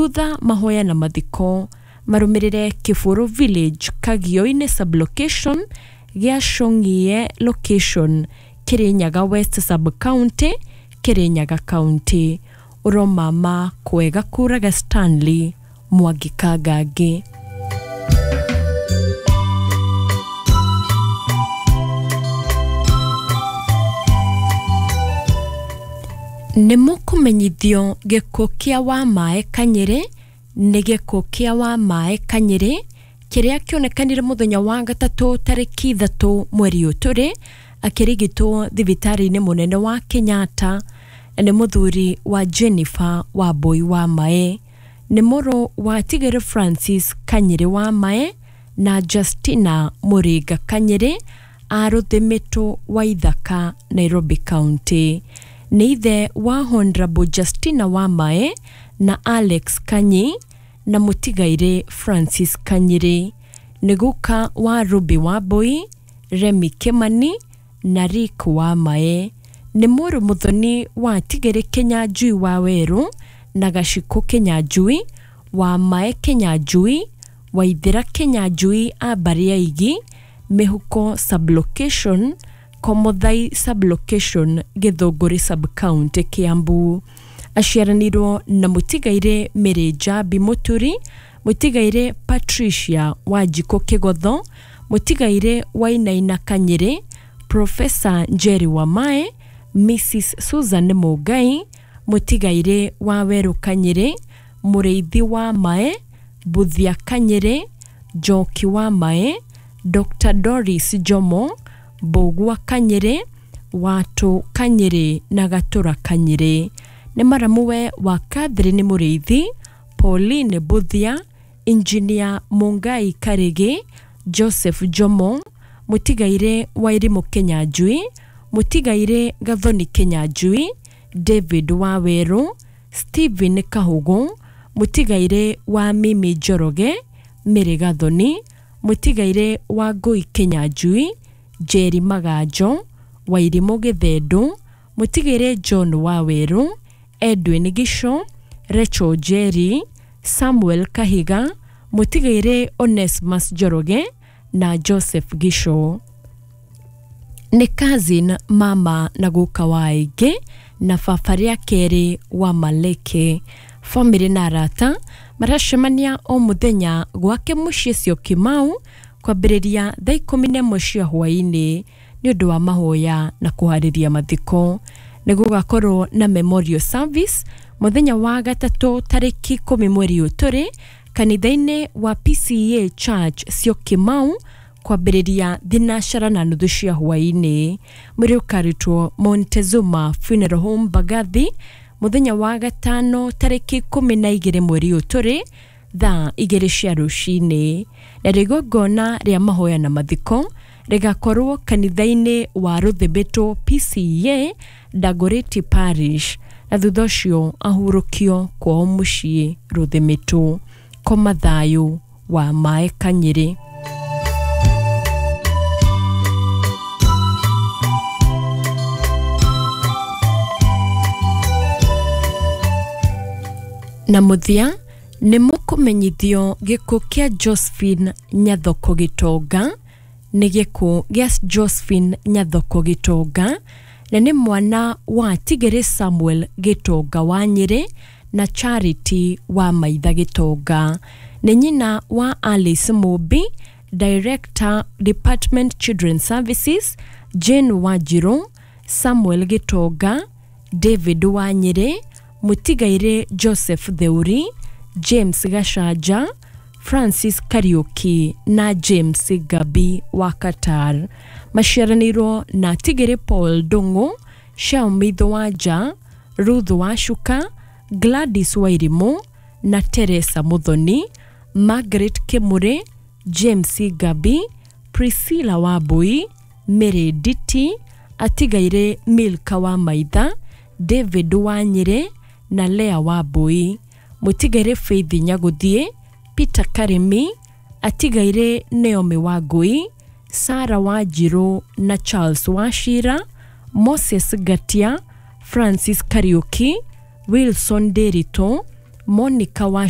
Thutha mahoya na mathiko marũmĩrĩre Kĩbũrũ Village, Kagio-inĩ sublocation, Gĩacũng'ie location, Kirinyaga West sub-county, Kirinyaga County. Ũromama kwega kũraga Stanley Mwangi Kangangi. Nĩ mũkũmenyithio gĩkuũ kĩa Wamae Kanyĩrĩ nĩ gĩkuũ kĩa Wamae Kanyĩrĩ kĩrĩa kĩonekanire mũthenya wa gatatũ tarĩki 3 mweri ũyũ tũrĩ akĩrigitwo thibitarĩ-inĩ mũnene wa Kenyatta na nĩ mũthuri wa Jennifer Wambui Wamae. Nĩ mũrũ wa Tigere Francis Kanyĩrĩ Wamae na Justina Mũringa Kanyĩrĩ a Rũthĩmĩtũ wa Ithaka, Nairobi County. Nĩ ithe wa Honorable Justina Wamae na Alex Kanyi na mũtigairĩ Francis Kanyĩrĩ. Nĩ guka wa Ruby Wambui, Remi Kimani na Rick Wamae. Nĩ mũrũ mũthoni wa Tigere Kĩnyanjui wa Werũ na Gacikũ Kĩnyanjui, Wamae Kĩnyanjui, Waithĩra Kĩnyanjui a mbarĩ ya Igi, Mĩhuko sublocation, Komothai sublocation, Gĩthũngũri sub-county, Kiambu. Aciaranĩirwo na mũtigairĩ Mary Njambi Mũturi, mũtigairĩ Patricia Wanjikũ Kĩgotho, mũtigairĩ Wainaina Kanyĩrĩ, Professor Njeri Wamae, Mrs Susan Mũngai, mũtigairĩ wa Werũ Kanyĩrĩ, Mũrĩithi Wamae, Mbuthia Kanyĩrĩ, Njoki Wamae, Dr Doris Jomo, Mbũgua Kanyĩrĩ, Watũ Kanyĩrĩ na Gatũra Kanyĩrĩ. Nĩ maramuwe wa Catherine Mũrĩithi, Pauline Mbuthia, Engineer Mũngai Karĩgĩ, Joseph Jomo, mũtigairĩ Wairimũ Kĩnyanjui, mũtigairĩ Gathoni Kĩnyanjui, David Wawerũ, Stephen Kahũgũ, mũtigairĩ wa Mimi Njoroge, Mary Gathoni, mũtigairĩ wa Ngũi Kĩnyanjui, Njeri Maganjo, Wairimũ Gĩthendũ, mũtigairĩ John Wawerũ, Edwin Gico, Rachel Njeri, Samuel Kahiga, mũtigairĩ Onesmus Njoroge na Joseph Gico. Nĩ cousin mama na guka wa aingĩ na baba rĩa kerĩ wa Maleke. Bamĩrĩ na arata maracemania o mũthenya gwake mũciĩ Syokimau kwambĩrĩria thaa 11 cia hwaĩ-inĩ nĩ ũndũ wa mahoya na kũharĩria mathiko. Nĩ gũgakorwo na memorial service mũthenya wa gatatũ tarĩki 10 mweri ũyũ tũrĩ kanitha-inĩ wa PCEA Church Syokimau kwambĩrĩria 9:30 cia hwaĩ-inĩ. Mwĩrĩ ũkarutwo Montezuma Funeral Home Mbagathi mũthenya wa gatano tarĩki 12 mweri ũyũ tũrĩ thaa 2 cia rũcinĩ. Na igongona rĩa mahoya na mathiko rĩgakorwo kanitha-inĩ wa Rũthĩmbĩtũ PCEA Dagoretti Parish na thutha ũcio ahurũkio kwao mũciĩ Rũthĩmĩtũ. Koma thayũ wa Mae Kanyĩrĩ. Na mũthia nĩ mũkũmenyithio gĩkuũ kĩa Josephine Nyathoko Gĩtonga nĩ gĩkuũ gĩa Josephine Nyathoko Gĩtonga na nĩ mwana wa Tigere Samuel Gĩtonga wa Nyĩrĩ na Charity wa Maitha Gĩtonga. Nĩ nyina wa Alice Mũmbi, Director Department Children Services, Jane Wanjirũ, Samuel Gĩtonga, David wa Nyĩrĩ, mũtigairĩ Joseph Theuri, James Gachanja, Francis Kariuki na James Gabi wa Qatar. Maciaranĩirwo na Tigere Paul Ndung'u, Xiaomi Wanja, Ruth Wacuka, Gladys Wairimũ na Teresa Muthoni, Margaret Kimuri, James Gabi, Priscilla Wambui, Mary Nditi, atigaire Milka wa Maitha, David wa Nyĩrĩ na Lea Wambui. Mũtigaire Faith Nyaguthie, Peter Karimi, atigaire Naomi Wangui, Sarah Wanjirũ na Charles Wachira, Moses Ngatia, Francis Kariuki, Wilson Ndiritu, Monica Wacuka.